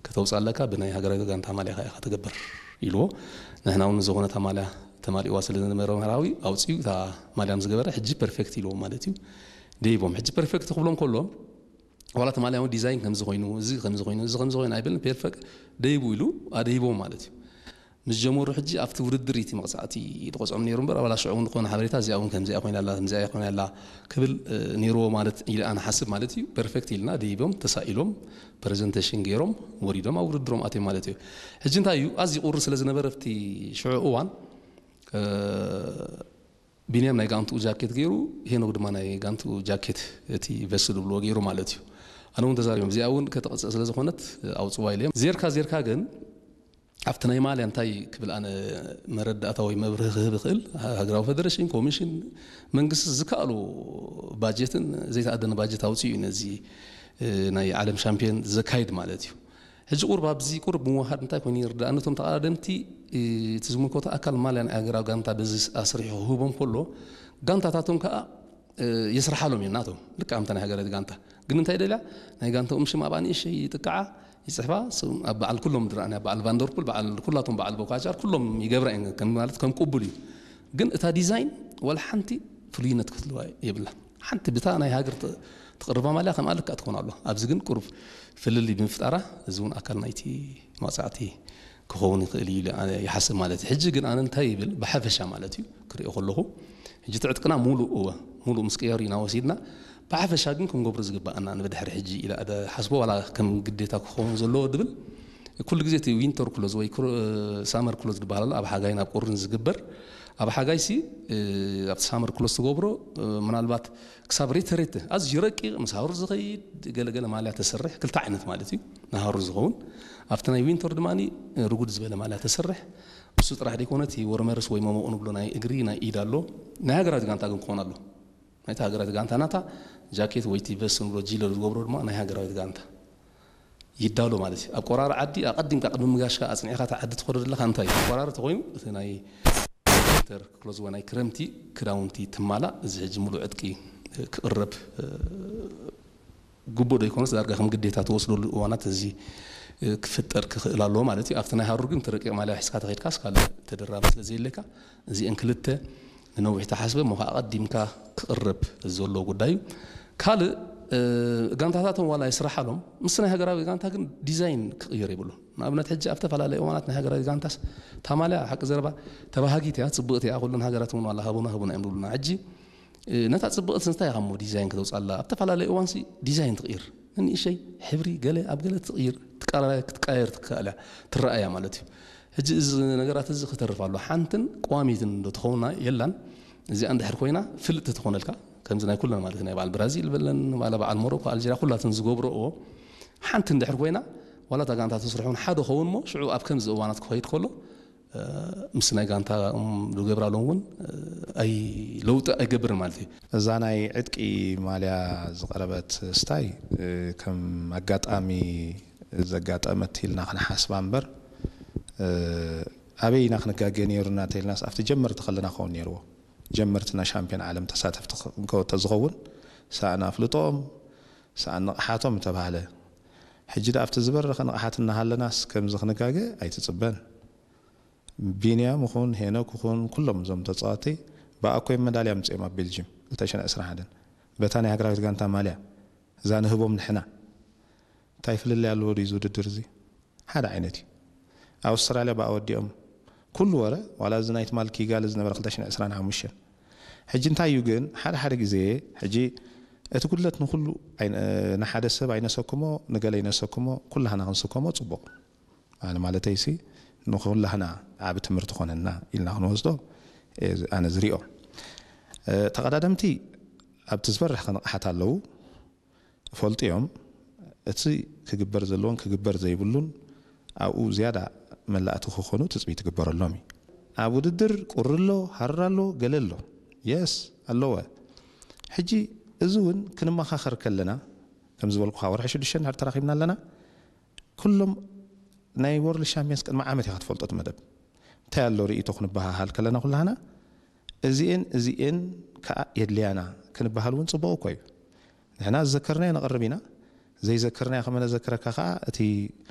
ከተውፅእ ኣለካ፣ ብናይ ሃገራዊ ጋንታ ማልያ ኢኻ ትገብር ኢልዎ። ንሕና እውን ዝኾነ እታ ማልያ ተማሊእዋ ስለ ዝነበረ መራዊ ኣውፅኡ እታ ማልያ ምስ ገበረ ሕጂ ፐርፌክት ኢልዎ ማለት እዩ። ደይቦም ሕጂ ፐርፌክት ክብሎም ከሎ ዋላ እቲ ማልያ እውን ዲዛይን ከምዚ ኮይኑ፣ እዚ ከምዚ ኮይኑ፣ እዚ ከምዚ ኮይኑ ኣይብልን። ፐርፌክት ደይቡ ኢሉ ኣደይቦም ማለት እዩ። ምስ ጀመሩ ሕጂ ኣብቲ ውድድር እቲ መቕፃዕቲ ይቆፅዖም ነይሩ እምበር፣ ኣባላ ሽዑ እውን ዝኾነ ሓበሬታ እዚኣ እውን ከምዚኣ ኮይና ኣላ፣ ከምዚኣ ኮይና ኣላ ክብል ነይርዎ ማለት ኢለ ኣነ ሓስብ ማለት እዩ። ፐርፌክት ኢልና ደይቦም ተሳኢሎም ፕሬዘንቴሽን ገይሮም ወሪዶም ኣብ ውድድሮም ኣትዮም ማለት እዩ። ሕጂ እንታይ እዩ ኣዝዩ ቁሪ ስለ ዝነበረ ኣብቲ ሽዑ እዋን ቢንያም ናይ ጋንትኡ ጃኬት ገይሩ፣ ሄኖክ ድማ ናይ ጋንትኡ ጃኬት እቲ ቨስት ዝብልዎ ገይሩ ማለት እዩ። ኣነ እውን ተዛሪቦም እዚኣ እውን ከተቐፅእ ስለ ዝኾነት ኣውፅዋ ኢለ። ዜርካ ዜርካ ግን ኣብቲ ናይ ማልያ እንታይ ክብል ኣነ መረዳእታ ወይ መብርሂ ክህብ እኽእል፣ ሃገራዊ ፌደሬሽን፣ ኮሚሽን፣ መንግስቲ ዝከኣሎ ባጀትን ዘይተኣደነ ባጀት ኣውፅኡ እዩ ነዚ ናይ ዓለም ሻምፒዮን ዘካይድ ማለት እዩ። ሕጂ ቁርብ ኣብዚ ቁርብ ምውሃድ እንታይ ኮይኑ ይርዳእ? ነቶም ተቐዳደምቲ እቲ ዝምልከቶ ኣካል ማልያ ናይ ሃገራዊ ጋንታ በዚ ኣስሪሑ ክህቦም ከሎ ጋንታታቶም ከዓ የስርሓሎም እዮም ናቶም ልክዕ ኣምታ ናይ ሃገራዊት ጋንታ። ግን እንታይ ደልያ ናይ ጋንታኦም ሽም ኣብኣ ንእሽተይ ይጥቅዓ ይፅሕፋ። ኣብ በዓል ኩሎም ድረኣኒ ኣብ በዓል ቫንደርፑል በዓል ኩላቶም በዓል ቦካቻር ኩሎም ይገብራ እየን ከም ማለት ከም ቅቡል እዩ። ግን እታ ዲዛይን ዋላ ሓንቲ ፍሉይነት ክትህልዋ የብላ። ሓንቲ ብታ ናይ ሃገር ትቕርባ ማልያ ከምኣ ልክዕ ትኾን ኣሎ። ኣብዚ ግን ቁሩብ ፍልልይ ብምፍጣራ እዚ እውን ኣካል ናይቲ መቕፃዕቲ ክኸውን ይኽእል እዩ ኢለ ኣነ ይሓስብ ማለት እዩ። ሕጂ ግን ኣነ እንታይ ይብል ብሓፈሻ ማለት እዩ ክሪኦ ከለኹ ሕጂ ትዕጥቅና ሙሉእ እወ ሙሉእ ምስ ቅየሩ ኢና ወሲድና ብሓፈሻ ግን ክንገብሮ ዝግባኣና ንብድሕሪ ሕጂ ኢለ ኣደ ሓስቦ ዋላ ከም ግዴታ ክኸውን ዘለዎ ድብል ኩሉ ግዜ እቲ ዊንተር ክሎዝ ወይ ሳመር ክሎዝ ዝበሃል ኣሎ ኣብ ሓጋይን ኣብ ቁርን ዝግበር ኣብ ሓጋይ ሲ ኣብቲ ሳመር ክሎዝ ትገብሮ ምናልባት ክሳብ ሬተ ሬተ ኣዝዩ ረቂቕ ምስ ሃሩ ዝኸይድ ገለገለ ማልያ ተሰርሕ ክልተ ዓይነት ማለት እዩ ንሃሩ ዝኸውን ኣብቲ ናይ ዊንተር ድማ ርጉድ ዝበለ ማልያ ተሰርሕ እሱ ጥራሕ ደይኮነ እቲ ወርመርስ ወይ መሞቕ ንብሎ ናይ እግሪ ናይ ኢድ ኣሎ ናይ ሃገራዊት ጋንታ ግን ክኾን ኣሎ ናይቲ ሃገራዊት ጋንታ ናታ ጃኬት ወይ እቲ ቨስት ንብሎ ጂለር ዝገብሮ ድማ ናይ ሃገራዊት ጋንታ ይዳሎ ማለት እዩ ኣብ ቆራሪ ዓዲ ኣቐዲምካ ቅድሚ ምጋሽካ ኣፅኒዕካ እቲ ዓዲ ትኸዶ ዘለካ እንታይ እዩ ቆራሪ ተኮይኑ እቲ ናይ ዊንተር ክሎዝ ወይ ናይ ክረምቲ ክዳውንቲ ትማላእ እዚ ሕጂ ሙሉእ ዕጥቂ ክቕረብ ግቡእ ዶ ይኮነስ ዳርጋ ከም ግዴታ ትወስደሉ እዋናት እዚ ክፍጠር ክኽእል ኣለዎ ማለት እዩ ኣብቲ ናይ ሃሩር ግን ትረቂቕ ማልያ ሒዝካ ተኸድካስ ካልእ ተደራቢ ስለ ዘየለካ እዚአን ክልተ ንነዊሕ ተሓስበ እሞ ከዓ ኣቐዲምካ ክቕረብ ዘሎ ጉዳይ እዩ ካልእ ጋንታታቶም ዋላ ይስራሓሎም ምስ ናይ ሃገራዊ ጋንታ ግን ዲዛይን ክቕየር የብሉ ንኣብነት ሕጂ ኣብ ተፈላለየ እዋናት ናይ ሃገራዊ ጋንታስ ታማልያ ሓቂ ዘረባ ተባሃጊት እያ ፅቡቕቲ እያ ኩለን ሃገራት እውን ዋላ ሃቡና ሃቡና እዮም ዝብሉና ሕጂ ነታ ፅብቕቲ እንታይ ኢኻ እሞ ዲዛይን ክተውፅኣላ ኣብ ተፈላለየ እዋንሲ ዲዛይን ትቕይር ንንእሸይ ሕብሪ ገለ ኣብ ገለ ትቕይር ክትቀያየር ትከኣል እያ ትረኣያ ማለት እዩ ሕጂ እዚ ነገራት እዚ ክተርፍ ኣሎ ሓንትን ቋሚትን ዶ ትኸውና የላን እዚኣ እንድሕር ኮይና ፍልጥቲ ትኾነልካ ከምዚ ናይ ኩለን ማለት ናይ በዓል ብራዚል በለን ዋላ በዓል ሞሮኮ ኣልጀርያ ኩላትን ዝገብረኦ ሓንቲ እንድሕር ኮይና ዋላ እታ ጋንታ ተስርሑ እውን ሓደ ኸውን እሞ ሽዑ ኣብ ከምዚ እዋናት ክኸይድ ከሎ ምስ ናይ ጋንታ ዝገብራሎም እውን ኣይ ለውጢ ኣይገብርን ማለት እዩ። እዛ ናይ ዕጥቂ ማልያ ዝቐረበት ስታይ ከም ኣጋጣሚ ዘጋጠመት ኢልና ክንሓስባ እምበር ኣበይ ኢና ክንጋገ ነይሩና ተኢልናስ ኣብቲ ጀመርቲ ከለና ክኸውን ነይርዎ። ጀመርትና ሻምፒዮን ዓለም ተሳተፍቲ ተዝኸውን ሰኣን ኣፍልጦም ሰኣን ንቕሓቶም ምተባህለ ሕጂ ደኣ ኣብቲ ዝበረኸ ንቕሓት እናሃለናስ ከምዚ ክንጋገ ኣይትፅበን። ቢንያም ይኹን ሄኖክ ይኹን ኩሎም እዞም ተፃወቲ ብኣኮይ መዳልያ ምፅኦም ኣብ ቤልጅም ክልተ ሽሕን ዕስራን ሓደን በታ ናይ ሃገራዊት ጋንታ ማልያ እዛ ንህቦም ንሕና እንታይ ፍልልይ ኣለዎ ድዩ እዚ ውድድር እዚ ሓደ ዓይነት እዩ ኣውስትራልያ ብኣ ወዲኦም ኩሉ ወረ ዋላ እዚ ናይ ትማል ኪጋሊ ዝነበረ ክልተ ሽሕን ዕስራን ሓሙሽተን ሕጂ እንታይ እዩ ግን ሓደ ሓደ ግዜ ሕጂ እቲ ጉድለት ንኩሉ ንሓደ ሰብ ኣይነሰክሞ ንገለ ይነሰክሞ ኩላህና ክንስከሞ ፅቡቕ ኣነ ማለተይሲ ንኹላህና ዓቢ ትምህርቲ ኮነና ኢልና ክንወስዶ ኣነ ዝሪኦ። ተቐዳደምቲ ኣብቲ ዝበረሐ ክንቕሓት ኣለዉ። ይፈልጡ እዮም። እቲ ክግበር ዘለዎን ክግበር ዘይብሉን ኣብኡ ዝያዳ መላእቲ ክኾኑ ትፅቢት ይግበረሎም እዩ። ኣብ ውድድር ቁሪ ኣሎ፣ ሃርር ኣሎ፣ ገለ ኣሎ። የስ ኣለወ። ሕጂ እዚ እውን ክንመኻኸር ከለና ከም ዝበልኩኻ ወርሒ ሽዱሽተ እንድሕር ተራኺብና ኣለና ኩሎም ናይ ወርልድ ሻምፒየንስ ቅድሚ ዓመት ኢኻ ትፈልጦ እቲ መደብ እንታይ ኣሎ ርእይቶ ክንበሃሃል ከለና ኩላህና እዚኤን እዚኤን ከዓ የድልያና ክንበሃል እውን ፅቡቕ እኮ እዩ ንሕና ዝዘከርናዮ ነቕርብ ኢና ዘይዘከርናዮ ከመ ነዘክረካ ከዓ እቲ